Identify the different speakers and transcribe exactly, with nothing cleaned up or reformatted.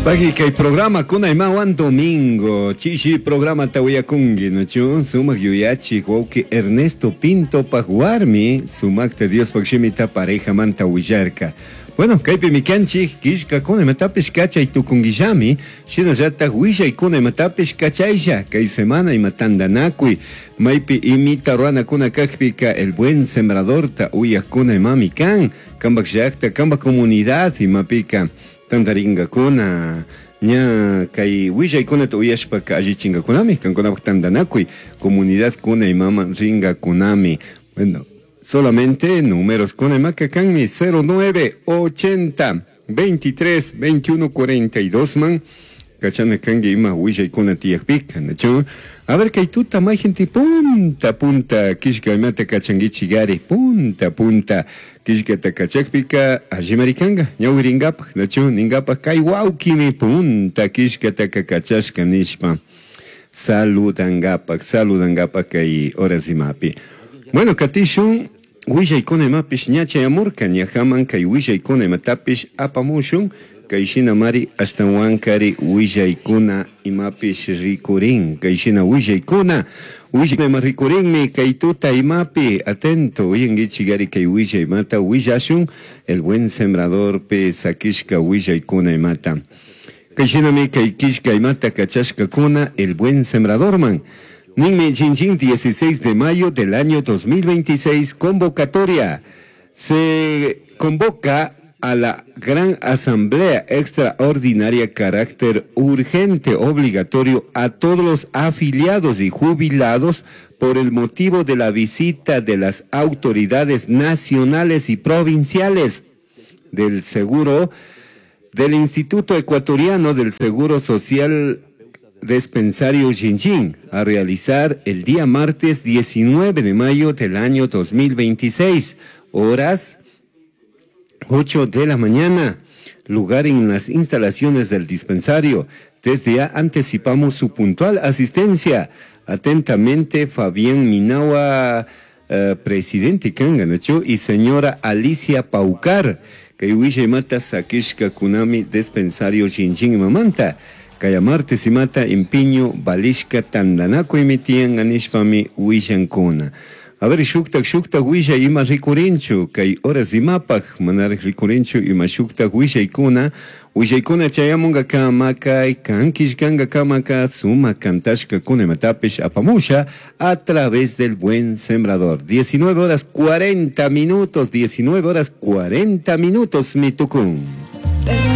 Speaker 1: Pagi kay programa kuna imawan domingo chishi programa tawiyakunki nachu sumak yuyachik wawki Ernesto Pinto paq warmi sumakta Diospaq shimita parejamanta willarka. Bueno, kaypimi kanchik killkakuna imatapish kachay tukunkillami shinallatak willaykuna imatapish kachaylla kay semana ima tantanakuy maypi imita ruranakuna kakpika El Buen Sembradorta uyakuna imami kan kanpak llakta kanpak comunidad imapika tantarinkakuna ña kay willaykunata uyashpaka allichinkakunami kankunapak tantanakuy comunidad kuna imaman rinkakunami. Bueno, solamente números kuna imaka kanmi cero nueve ochenta veintitrés veintiuno cuarenta y dos man kachana kanki ima willaykuna tiyakpika, nachu? A ver, kay tuta may gente punta punta killka imata kachankichigari punta punta killkata kachakpika allimarikanka ñawirinkapak, nachu? Ninkapak kay wawkimi punta killkataka kachashka nishpa saludankapak, saludankapak kay horas imapi. Bueno, katishun willaykuna imapish ña chayamurka ñajaman kay willaykuna imatapish apamushun kay shina mari ashtawankari willaykuna imapish rikurin kay shina willaykuna willaykuna ima rikurinmi kay tuta imapi atento uyankichigari kay willay imata willashun El Buen Sembrador pe sakishka willaykuna imata kay shinami kay killka imata kachashkakuna El Buen Sembradorman. Ninmi Jinjin dieciséis de mayo del año dos mil veintiséis, convocatoria. Se convoca a la Gran Asamblea Extraordinaria carácter urgente obligatorio a todos los afiliados y jubilados por el motivo de la visita de las autoridades nacionales y provinciales del Seguro del Instituto Ecuatoriano del Seguro Social Dispensario Jinjin a realizar el día martes diecinueve de mayo del año dos mil veintiséis, horas ocho de la mañana, lugar en las instalaciones del dispensario. Desde ya anticipamos su puntual asistencia. Atentamente, Fabián Minawa, eh, presidente Kanganacho, y señora Alicia Paucar, que huille mata sakishka kunami dispensario Jinjin mamanta. Kaya martes imata empiño balishka tandanaku imitian anishpami willankuna. A ver, shuktak shuktak willa ima rikurinchu, kay horas imapaj manaraj rikurinchu ima shuktak willaykuna, willaykuna chayamunga kamakay, kankishkanga kamaka, suma kantashka kuna imatapish apamusha a través del Buen Sembrador. diecinueve horas cuarenta minutos, diecinueve horas cuarenta minutos, mitukun.